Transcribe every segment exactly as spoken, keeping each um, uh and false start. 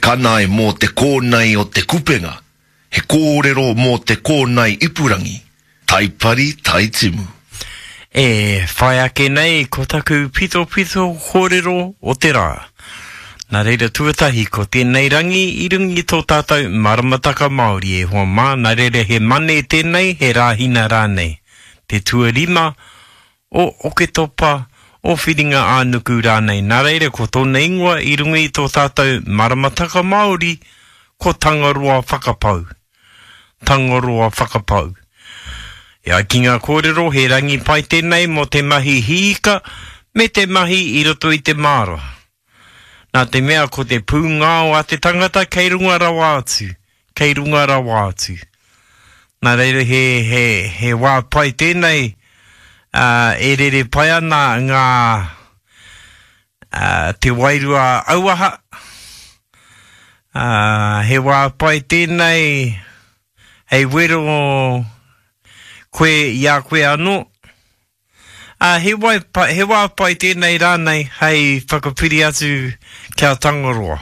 kanae mō te kōnae o te kupenga, he kōrero mō te kōnae ipurangi, Taipari Taitimu. E whai ake nei ko taku pitopito kōrero o te rā. Nā reira tuatahi ko tēnei rangi i runga i tō tātou maramataka Māori e hoa mā, nā reira he Mane tēnei, he Rāhina rānei. Te tuarima o Oketopa, o Whiringa-ā-nuku rānei. Nā reira ko tōna ingoa i runga i tō tātou maramataka Māori ko Tangaroa Whakapau. Tangaroa Whakapau. E ai ki ngā kōrero he rangi pai tēnei mō te mahi hiika me te mahi i roto i te māra. Nā te mea ko te pūngao a te tangata kei runga rawa atu, kei runga rawa atu. Nā reira he, he, he wā pai tēnei, ā, e rere pai ana ngā, ā, te wairua auaha, ā, he wā pai tēnei hei wero koe i a koe anō. Ā, he wai pai, he wā pai tēnei rānei hei whakapiri atu ki a Tangaroa,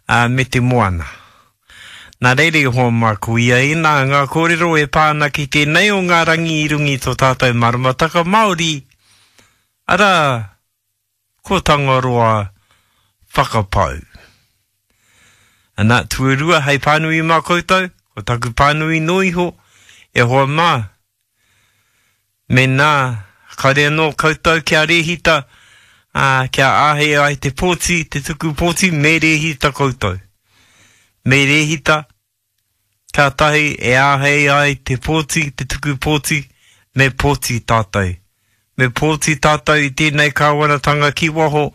ā, me te moana. Nā reira i hoa mā ko ia ēnā ngā kōrero e pā ana ki tēnei o ngā rangi i runga i tō tātou maramataka Māori, arā, ko Tangaroa Whakapau. Ana, tuarua hei pānui mā koutou, ko taku pānui noa iho, e hoa mā, Mēnā, kāore anō koutou kia rēhita, ā, kia āhei ai te pōti, te tuku pōti, me rēhita koutou. Me rēhita, kātahi e āhei ai te pōti, te tuku pōti, me pōti tātou. Me pōti tātou i tēnei kāwanatanga ki waho,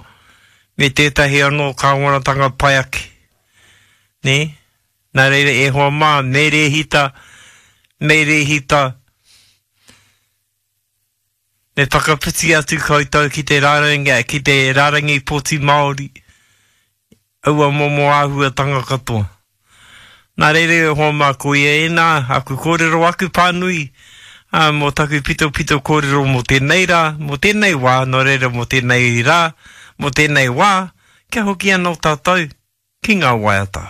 me tētahi anō kāwanatanga pai ake. Nē? Nā reira, e hoa mā, me rēhita, me rēhita, Me whakawhiti atu koutou ki te rārangi, ki te rārangi pōti Māori, aua momo āhuatanga katoa. Nā reira e hoa mā, ko ia ēnā, aku kōrero, aku pānui, ā, mō taku pitopito kōrero mō tēnei rā, mō tēnei wā, nō reira mō tēnei rā, mō tēnei wā, kia hoki anō tātou ki ngā waiata.